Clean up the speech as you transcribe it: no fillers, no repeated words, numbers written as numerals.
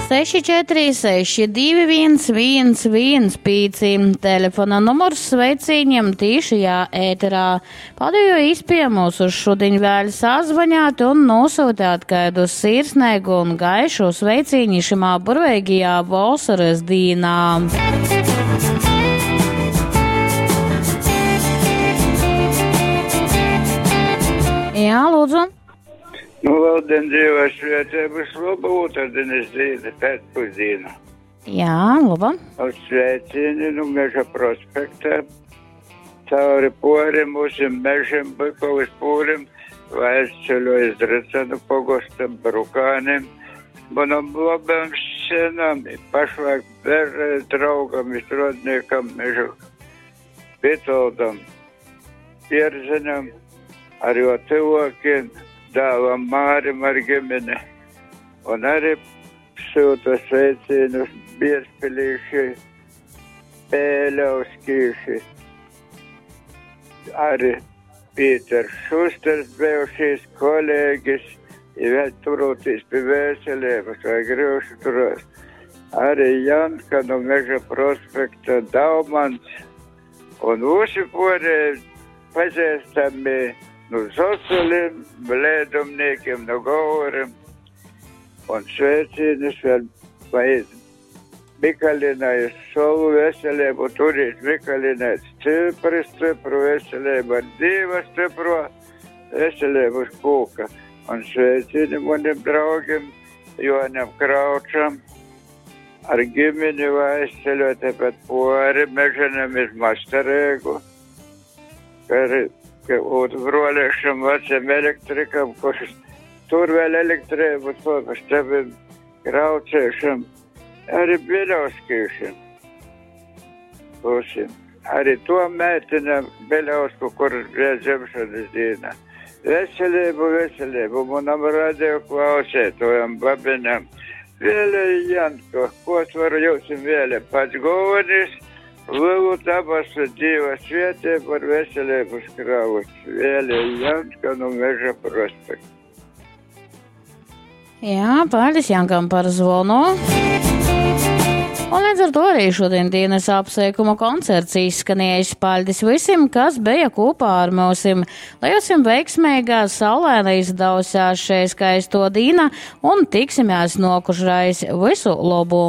646 211 115 telefona numurs sveicīņam tīšajā ēterā. Pādējo īspēju mūs uz šudiņ vēl sazvaņāt un nosūtāt kādu sirsnīgu un gaišu sveicīņu šimā burveigajā vasaras dīnā. Jā, lūdzu. Nu, labdien, Dieva svētības, laba otrdienas diena, pēcpusdiena. Jā, laba. Uz sveicieni nu Meža prospektā, cauri porim, mūsim mežiem, Bykovas pūrim, aizceļo iz Drycanu pogosta Brukānim, manam labam senam, pašlaik bērē draugam, strādniekam, mežu Vitoldam, Pierzeņam, ar jo tuvākiem, dēlam Mārim ar ģimeni. Un arī sūta sveicienus Bierzpilīši, Pēļauskīši, arī Pīters Šusters bijušīs kolēģis, ja vēl turoties pie veselības vai grūši turās. Arī Janka no Meža prospekta Daumans un visi pārējie pazīstami no Zosuliem, Blēdumniekiem, no Gaurim. Un sveicienus vēl vai Mikalinai savu veselību turīt Mikalinai stipri, stipru veselību, ar Dieva stipro veselību uz kūka. Un sveicieni maniem draugiem Joņam Kraučam, ar ģimeni aizceļot tepat pori meženam iz Masterēgu, ka, ka un broliešam vecam elektrikam, kurš tur vēl elektrību to pa tevim Krauciešam, arī Biļauskīšam. Būsim. Arī to mētinam Biļausku, kur bija dzimšanas diena. Veselību, veselību manam radio klausētojam, babiņam. Vēlē Janko, ko es varu jums vēlēt? Pats galvenais, lielu dabasu Dieva svētību ar veselību skraus. Vēlē Janka no Meža prospekta. Jā, paldies Jankam par zvonu. Un līdz ar to arī šodien dienas apsveikuma koncerts izskanējis. Paldies visiem, kas bija kopā ar mūsim. Lai jums veiksmīga saulaina izdevusās šai skaisto dīna un tiksimies nokušreiz. Visu labu!